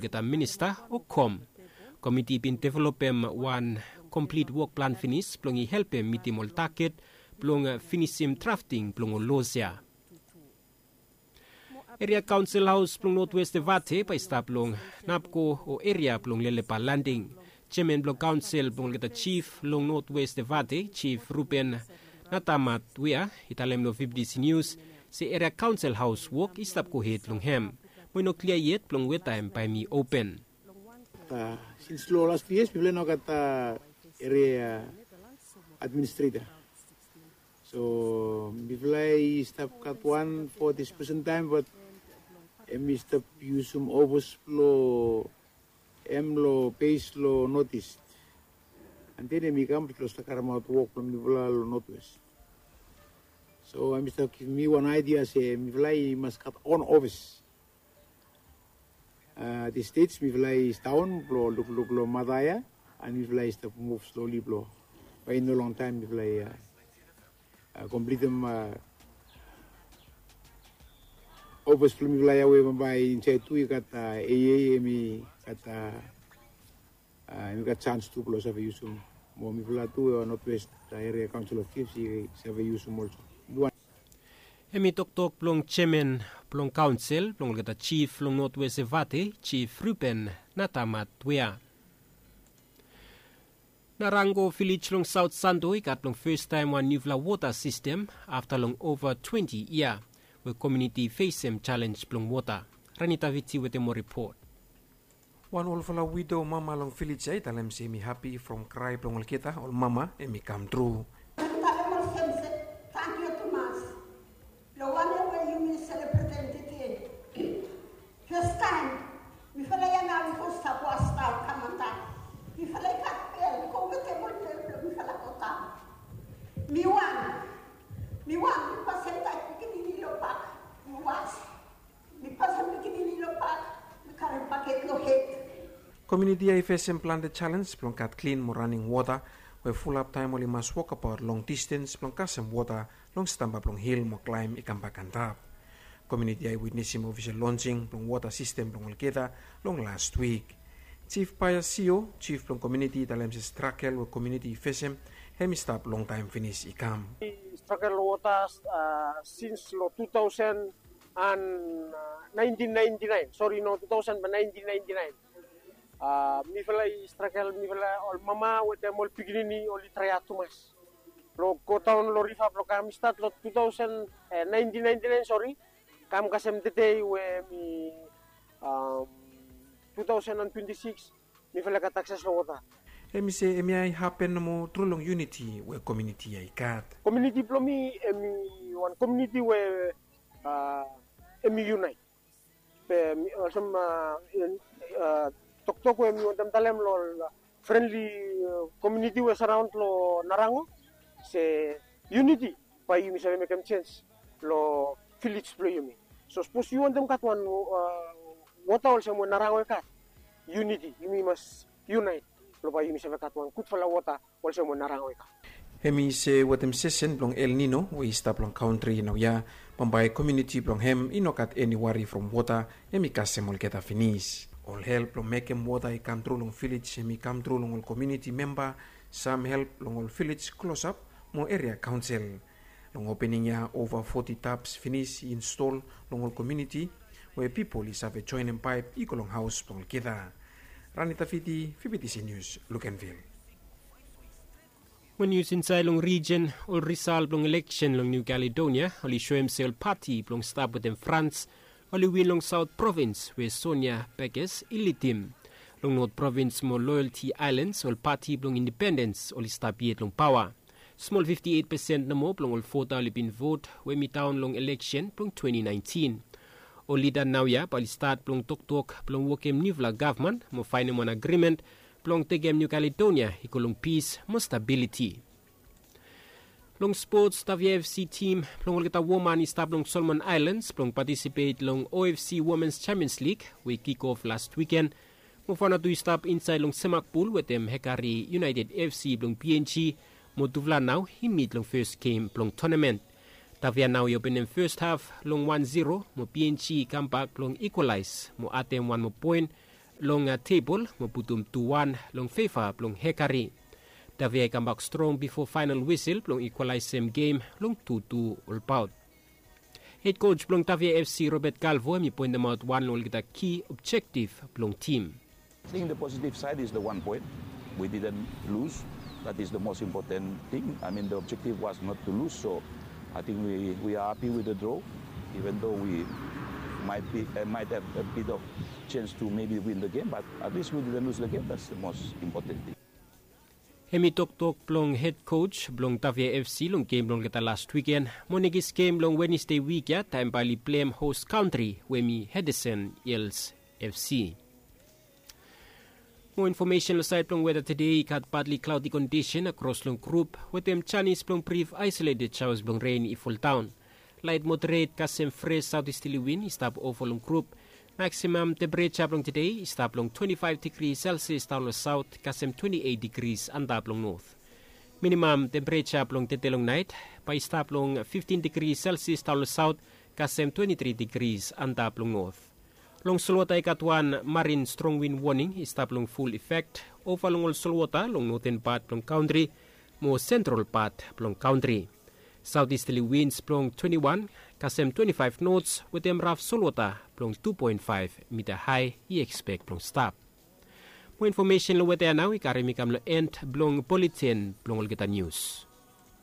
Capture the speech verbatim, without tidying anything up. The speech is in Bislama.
olgeta minista o kom. Komiti i bin developem wan komplit wok plan finis blong i helpem mitim ol taget blong finisim drafting blong ol los ya. Eria kaonsel haos blong notwest evate bae i stap long napko o eria blong lelepa landing. Jeaman blong kaonsel blong olgeta jif long notwest evate jif ruben natamat wea i talem long fifti si nius se eria kaonsel haos wok i stap gohed long hem. Mo i no klia yet blong weta hem bae mi open. Sins long last tu yias mifala i no gat eria administreta. So mifala i stap gat wan fo dispusen taem bat em i stap yusum ofis blong em long bes long notis. Anten em i kam blong stap karemaot wok blong mifala long notwes. So em i stap givim mi wan aidia se mifala i mas gat on ofis. Distes mifala i staon blong lukluk long mata ya an mifala i stap muv sloli blong bae i no longtaem mifala i komplitim ofis blong mifala ya we bambae insaed tu i gat aa em i gat aa em i gat sans tu blong save yusum mo mifala tu notwest eria kaonsel of jifs i save yusum olso. Em i toktok blong jeaman blong kaonsel blong olgeta jif long notwest evate jif ruben natamat wea. Narango vilej long saot santo i gat long festaem wan niufala wota sistem afta long ova twenti yia we komiuniti i fesem jalenj blong wota. Ranitaviti wetem ol ripot. Wan olfala wido mama long vilej ya i talem se em i hapi from krae blong olgeta ol mama em i kam tru. Talem olsem se tangkiu tumas long wanem we yumi selebretem tede. Festaem mifala ya nao i go stap was nao kam antap. Mifala i gat bel i go wetem ol bel blong mifala go daon. Mi wan mi wan mi pasem taet pikinini long bak mi was. Mi pasem pikinini long bak mi karem baket long hed. Komiuniti ya i fesem plante jalenj blong gat klin mo raning wota we fulap taem oli mas wokabaot long distens blong kasem wota long stamba blong hil mo klaem i kambak antap. Komiuniti ya i witnesim ofisel lonsing blong wota sistem blong olgeta long last wik. Jif paia sio jif blong komiuniti i talem se stragel we komiuniti i fesem hem i stap longtaem finis i kam. Stragel long wota sins long tu taosen an naentin naenti naen sori no tu taosen ba naentin naenti naen. Mifala i stragel mifala ol mama wetem ol pikinini oli traeat tumas blong godaon long riva blong kam i stat long tu taosen naentin naenti naen sori kam kasem tedei we mi tu taosen an twenti siks. Mifala i gat akses long wota. Hem i se hemia i hapen nomo tru long yuniti we komiuniti ya i gat. Komiuniti blong mi hem i wan komiuniti we hem i yunaet. Be olsem toktok we mi wantem talem long ol frenli komiuniti we saraon long narango se yuniti bae yumi save mekem jens long vilej blong yumi. So sapos yu wantem gat wan wota olsem we narango i gat yuniti yumi mas yunaet blong bae yumi save gat wan gudfala wota olsem we narango i gat. Hem i se wetem sesen blong el nino we i stap long kantri naoia bambae komiuniti blong hem i no gat eni wari from wota. Hem i kasem olgeta finis ol help blong mekem wota i kam tru long vilej hem i kam tru long ol komiuniti memba, sam help long ol vilej klosap mo eria kaonsel. Long opening ya ova foti taps finis i instol long ol komiuniti we pipol i save joenem paep i go long haos blong olgeta. Ranitafiti fifitisi nius lukenvil. Mo nius insaed long rijen ol risal blong eleksen long niu kaledonia oli soem se ol pati blong stap wetem frans oli win long saot provins we sonia bekes i lidim. Long not provins mo loyalti aelans ol pati blong indipendens oli stap yet long paoa. Smol fifti eit pesen nomo blong ol vota oli bin vot we mi daon long eleksen blong twenti naentin. Ol lida naoia bae oli stat blong toktok blong wokem niufala gavman mo faenem wan agrimen blong tekem niu kaledonia i go long pis mo stabiliti. Long spots tavia fc tim blong olgeta woman i stap long solomon aelans blong patisipet long ofc womens champions lig we i kik of last wiken. Mo faona tu i stap insaed long semakbul wetem hekari iunaeted fc blong png mo tufala nao i mit long fes gem blong tonamen. Tavia nao i openem fes haf long wan zero mo png i kambak blong ikwalaes mo adem wan moa poen. long tebol mo putum tu wan long feva blong Hekari. Davia i kambak strong bifo fainal wisil blong ikwalaesem gem long tu tu olbaot. Hed koj blong Davia FC Robert Galvo hem i poentemaot wan long olgeta ki objektif blong tim. I think the positive side is the one point. We didn't lose. That is the most important thing. I mean, the objective was not to lose, so I think we, we are happy with the draw, even though we might be uh, might have a bit of chance to maybe win the game, but at least we didn't lose the game. That's the most important thing. Hem i toktok blong hed koj blong Davia FC long gem blong olgeta last wiken mo nekis gem long Wenesde wik ya taem bae oli plem hos kantri we hem i Hedesen Hils FC. Mo infomesen long saed blong weta tede i gat badli klaodi kondisen akros long grup wetem janis blong brif aesoleted jaos blong ren i foldaon. Laet moderet kasem fres saotisteli win i stap ova long grup. Maksimam tempereja blong tede i stap long twenti faef digri selsias daon long saot kasem twenti eit digris antap long not. Minimam tempereja blong tede long naet bae i stap long fiftin digri selsias daon long saot kasem twenti tri digris antap long not. Long solwota i gat wan marin strong win woning i stap long ful efek ova long ol solwota long noten pat blong kantri mo sentral pat blong kantri. Saotisteli wins blong twenti wan kasem twenti faef nots wetem raf solwota blong tu poen faef mita hae i ekspek blong stap. Mo infomesen long weta ya nao i karem i kam long en blong buletin blong olgeta nius.